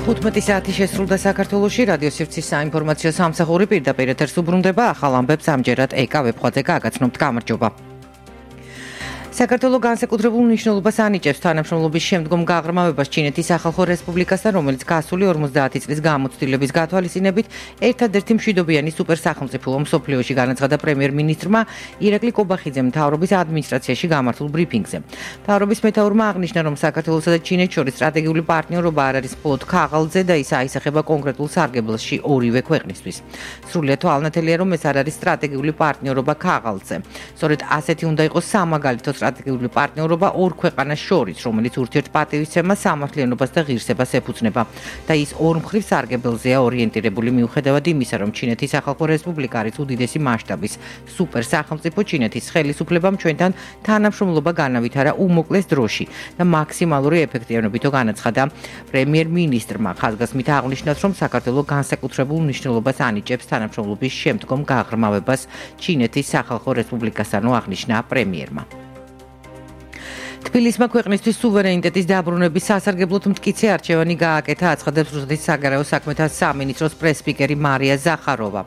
15 საათი შესრულდა საქართველოში რადიო სივრცის საინფორმაციო სამსახური პირდაპირ ეთერს უბრუნდება ახალ ამბებს ამჯერად ეკა ვებხვაძე გაგაცნობთ გამარჯობა. საქართველოს განსაკუთრებულ მნიშვნელობას ანიჭებს თანამშრომლობის შემდგომ გაღრმავებას ჩინეთის სახალხო რესპუბლიკასთან, რომელიც გასული 50 წლის გამოცდილების გათვალისწინებით ერთადერთი მშვიდობიანი სუპერსახელმწიფოა მსოფლიოში, განაცხადა პრემიერ-მინისტრმა ირაკლი კობახიძემ მთავრობის ადმინისტრაციაში გამართულ ბრიფინგზე. მთავრობის მეთაურმა აღნიშნა, რომ საქართველოსა და ჩინეთს შორის სტრატეგიული პარტნიორობა არ არის მხოლოდ ქაღალდზე და ის აისახება კონკრეტულ სარგებლოში ორივე ქვეყნისთვის. სრულიად თვალნათელია, რომ ეს არ არის სტრატეგიული პარტნიორობა ქაღალდზე. სწორედ ასეთი უნდა იყოს სამაგალითო სტრატეგიული პარტნიორობა ორ ქვეყანას შორის, რომელიც ურთიერთპატივისცემას, სამართლიანობას და ღირსებას ეფუძნება და ის ორმხრივ სარგებელზეა ორიენტირებული, მიუხედავად იმისა, რომ ჩინეთის სახალხო რესპუბლიკა არის უდიდესი მასშტაბის სუპერსახელმწიფო, ჩინეთის ხელისუფლებამ ჩვენთან თანამშრომლობა განავითარა უმოკლეს დროში და მაქსიმალური ეფექტიანობითო განაცხადა პრემიერ-მინისტრმა. ხაზგასმით აღნიშნავს, რომ საქართველოს განსაკუთრებულ მნიშვნელობას ანიჭებს თანამშრომლობის შემდგომ გაღრმავებას ჩინეთის სახალხო რესპუბლიკასთან, აღნიშნა პრემიერმა. თბილისმა ქვეყნისთვის სუვერენიტეტის დაბრუნების სასარგებლოდ მტკიცე არჩევანი გააკეთა, აცხადებს რუსეთის საგარეო საქმეთა სამინისტროს პრეს-სპიკერი მარია ზახაროვა.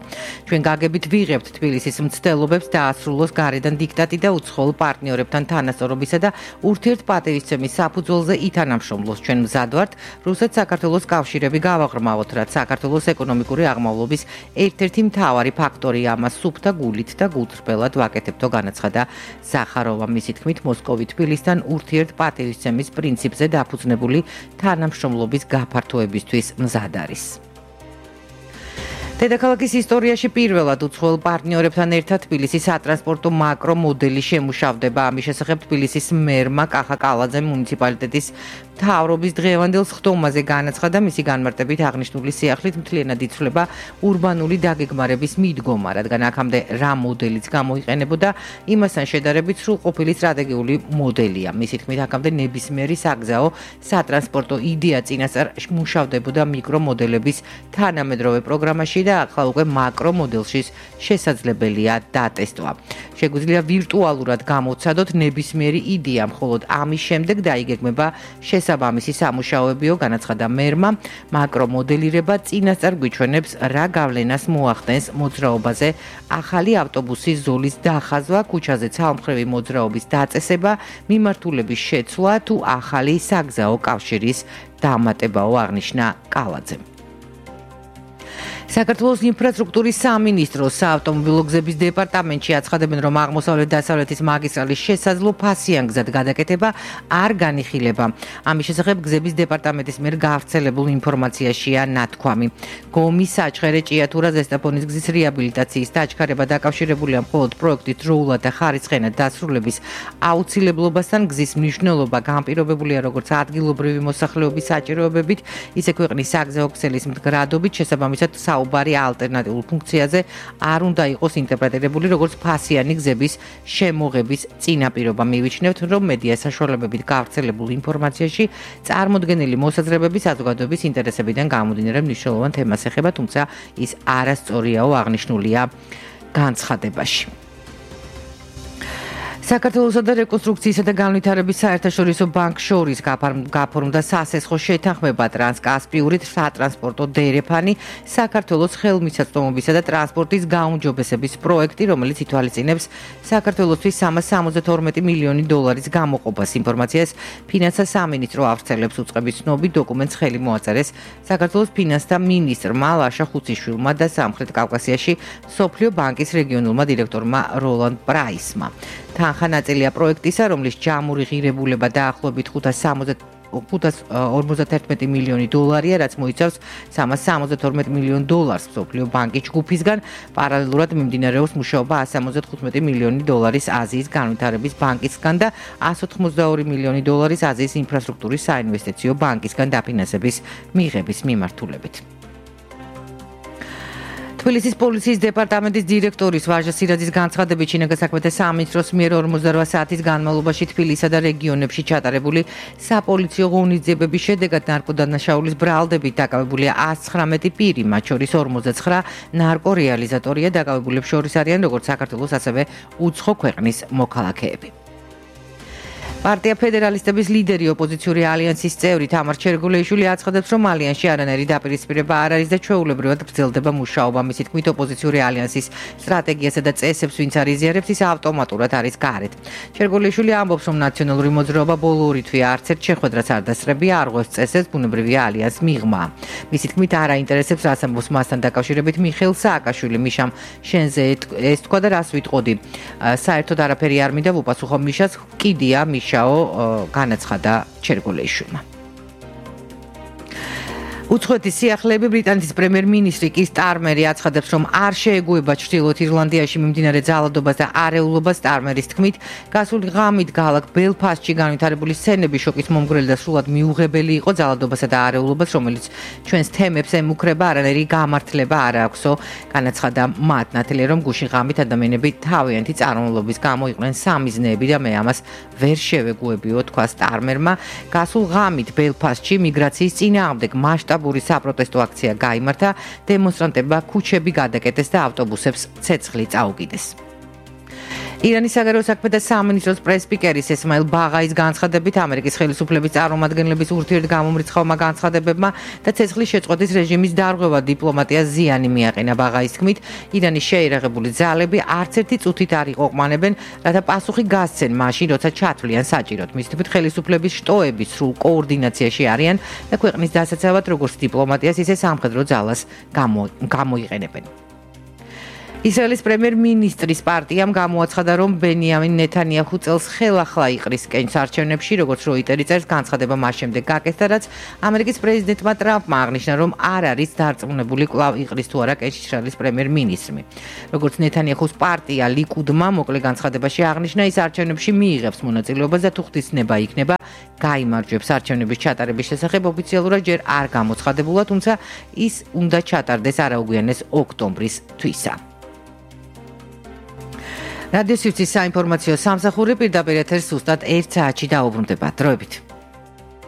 ჩვენ გაგებით ვიღებთ თბილისის მცდელობებს დაასრულოს გარედან დიქტატი და უცხოელ პარტნიორებთან თანასწორობისა და ურთიერთპატივისცემის საფუძველზე ითანამშრომლოს. ჩვენ მზად ვართ რუსეთ-საქართველოს კავშირები გავაღრმავოთ, რაც საქართველოს ეკონომიკური აღმავლობის ერთ-ერთი მთავარი ფაქტორია, ამას სუფთა გულით და გულწრფელად ვაკეთებთო, განაცხადა ზახაროვა. მისი თქმით, მოსკოვი თბილისთან ურთიერთპატივისცემის პრინციპზე დაფუძნებული თანამშრომლობის გაფართოებისთვის მზად არის. დედაქალაქის ისტორიაში პირველად უცხოელ პარტნიორებთან ერთად თბილისის სატრანსპორტო მაკრო მოდელი შემუშავდება. ამის შესახებ თბილისის მერმა კახა კალაძემ მუნიციპალიტეტის მთავრობის დღევანდელ სხდომაზე განაცხადა, მისი განმარტებით აღნიშნული სიახლით მთლიანად იცვლება ურბანული დაგეგმარების მიდგომა, რადგან აქამდე რა მოდელიც გამოიყენებოდა, იმასთან შედარებით სრულყოფილი სტრატეგიული მოდელია. მისი თქმით, აქამდე ნებისმიერი საგზაო სატრანსპორტო იდეა წინასწარ მუშავდებოდა მიკრომოდელების თანამედროვე პროგრამაში და ახლა უკვე მაკრო მოდელში შესაძლებელია დატესტვა. შეგვიძლია ვირტუალურად გამოვცადოთ ნებისმიერი იდეა, მხოლოდ ამის შემდეგ დაიგეგმება შესაბამისი სამუშაოებიო, განაცხადა მერმა. მაკრო მოდელირება წინასწარ გვიჩვენებს რა გავლენას მოახდენს მოძრაობაზე ახალი ავტობუსის ზოლის დახაზვა, ქუჩაზე ცალმხრივი მოძრაობის დაწესება, მიმართულების შეცვლა თუ ახალი საგზაო კავშირის დამატებაო, აღნიშნა კალაძემ. საქართველოს ინფრასტრუქტურის სამინისტროს საავტომობილო გზების დეპარტამენტში აცხადებენ, რომ აღმოსავლეთ-დასავლეთის მაგისტრალის შესაძლო ფასიანგზად გადაკეთება არ განიხილება. ამის შესახებ გზების დეპარტამენტის მიერ გავრცელებულ ინფორმაციაშია ნათქვამი. გომის, საჩხერე, ჭიათურა, ზესტაფონის გზის რეაბილიტაციის დაჩქარება დაკავშირებულია მხოლოდ პროექტის დროულად და ხარისხენად დასრულების აუცილებლობასთან. გზის მნიშვნელობა განპირობებულია როგორც ადგილობრივი მოსახლეობის საჭიროებებით, ისე ქვეყნის საგზაო ქსელის მდგრადობით, შესაბამისად საუბარი ალტერნატიულ ფუნქციაზე არ უნდა იყოს ინტერპრეტირებული როგორც ფასიანი გზების შემოღების წინაპირობა. მივიჩნევთ, რომ მედია საშუალებებით გავრცელებულ ინფორმაციაში წარმოდგენილი მოსაზრებები საზოგადოების ინტერესებიდან გამომდინარე მნიშვნელოვან თემას ეხება, თუმცა ის არასწორიაო, აღნიშნულია განცხადებაში. საქართველოსა და რეკონსტრუქციისა და განვითარების საერთაშორისო ბანკს შორის გაფორმდა სასესხო შეთანხმება ტრანსკასპიური სატრანსპორტო დერეფანი საქართველოს ხელმისაწვდომობისა და ტრანსპორტის გაუმჯობესების პროექტი, რომელიც ითვალისწინებს საქართველოსთვის 372 მილიონი დოლარის გამოყოფას. ინფორმაციას ფინანსთა სამინისტრო ავრცელებს, უწყების ცნობით დოკუმენტს ხელი მოაწერეს საქართველოს ფინანსთა მინისტრმა ლაშა ხუციშვილმა და სამხრეთ კავკასიაში მსოფლიო ბანკის რეგიონულმა დირექტორმა როლანდ პრაისმა. თანხა ნაწილია პროექტისა, რომლის ჯამური ღირებულება დაახლოებით 551 მილიონი დოლარია, რაც მოიცავს 372 მილიონ დოლარს მსოფლიო ბანკის ჯგუფისგან. პარალელურად მიმდინარეობს მუშაობა 175 მილიონი დოლარის აზიის განვითარების ბანკისგან და 182 მილიონი დოლარის აზიის ინფრასტრუქტურის საინვესტიციო ბანკისგან დაფინანსების მიღების მიმართულებით. თბილისის პოლიციის დეპარტამენტის დირექტორის ვაჟა სირაძის განცხადებით, შინაგან საქმეთა სამინისტროს მიერ 48 საათის განმავლობაში თბილისსა და რეგიონებში ჩატარებული საპოლიციო ღონისძიებების შედეგად ნარკოდანაშაულის ბრალდებით დაკავებულია 119 პირი, მათ შორის 49 ნარკორეალიზატორია. დაკავებულებს შორის არიან როგორც საქართველოს, ასევე უცხო ქვეყნის მოქალაქეები. პარტია ფედერალისტების ლიდერი ოპოზიციური ალიანსის წევრი თამარ ჩერგულეიშვილი აცხადებს, რომ ალიანსში არანაირი დაპირისპირება არ არის და ჩვეულებრივად გრძელდება მუშაობა. მისი თქმით, ოპოზიციური ალიანსის სტრატეგიასა და წესებს ვინც არ იზიარებს, ის ავტომატურად არის გარეთ. ჩერგულეიშვილი ამბობს, რომ ნაციონალური მოძრაობა ბოლო ორი თვე არც ერთ შეხვედრას არ დასწრებია, არ ღვევს წესებს ბუნებრივია ალიანს მიღმა. მისი თქმით, არ აინტერესებს, რას ამბობს მასთან დაკავშირებით მიხეილ სააკაშვილი. მიშამ შენზე ეს თქვა და რას ვიტყოდი. საერთოდ არაფერი არ მინდა ვუპასუხო მიშას, კიდია მიშაო განაცხადა ჩერგულეიშვილმა. უცხოეთის სიახლეები ბრიტანეთის პრემიერ-მინისტრი კი სტარმერი აცხადებს, რომ არ შეეგუება ჩრდილოეთ ირლანდიაში მიმდინარე ძალადობას და არეულობას. სტარმერის თქმით, გასული ღამით ქალაქ ბელფასტში განვითარებული სცენები შოკის მომგვრელი და სრულად მიუღებელი იყო ძალადობასა და არეულობას, რომელიც ჩვენს თემებს ემუქრება, არანაირი გამართლება არ აქვსო. განაცხადა მათ ნათელია, რომ გუშინ ღამით ადამიანები თავიანთი წარმომავლობის გამო იყვნენ სამიზნეები და მე ამას ვერ შევეგუებიო, თქვა სტარმერმა. გასულ ღამით ბელფასტში მიგრაციის წინააღმდეგ მასშტაბური საპროტესტო აქცია გაიმართა, დემონსტრანტებმა ქუჩები გადაკეტეს და ავტობუსებს ცეცხლი წაუკიდეს. ირანის საგარეო საქმეთა სამინისტროს პრეს-სპიკერის ესმაილ ბაღაის განცხადებით, ამერიკის ხელისუფლების წარმომადგენლების ურთიერთგამომრიცხავმა განცხადებებმა და ცეცხლის შეწყვეტის რეჟიმის დარღვევა დიპლომატიას ზიანი მიაყენა. ბაღაის თქმით, ირანის შეიარაღებული ძალები არც ერთი წუთით არ იყვანებენ, რათა პასუხი გასცენ მაშინ, როცა ჩათვლიან საჭიროდ. მის თქმით, ხელისუფლების შტოები სრულ კოორდინაციაში არიან და ქვეყნის დასაცავად როგორც დიპლომატიას, ისე სამხედრო ძალას გამოიყენებენ. ისრაელის პრემიერ-მინისტრის პარტიამ გამოაცხადა, რომ ბენიამინ ნეთანიაჰუ წელს ხელახლა იყრის კენჭს არჩევნებში, როგორც როიტერი წერს, განცხადება მას შემდეგ გაკეთდა, რაც ამერიკის პრეზიდენტმა ტრამპმა აღნიშნა, რომ არ არის დარწმუნებული კვლავ იყრის თუ არა კენჭს ისრაელის პრემიერ-მინისტრი. როგორც ნეთანიაჰუს პარტია ლიკუდმა მოკლე განცხადებაში აღნიშნა, ის არჩევნებში მიიღებს მონაწილეობას და თუ ხდისნება იქნება, გაიმარჯვებს. არჩევნების ჩატარების შესახებ ოფიციალურად ჯერ არ გამოცხადებულა, თუმცა ის უნდა ჩატარდეს არაუგვიანეს ოქტომბრის თვისა. რადიო სივრცის საინფორმაციო სამსახური პირდაპირ ეთერს სუსტად 1 საათში დაუბრუნდება. დროებით.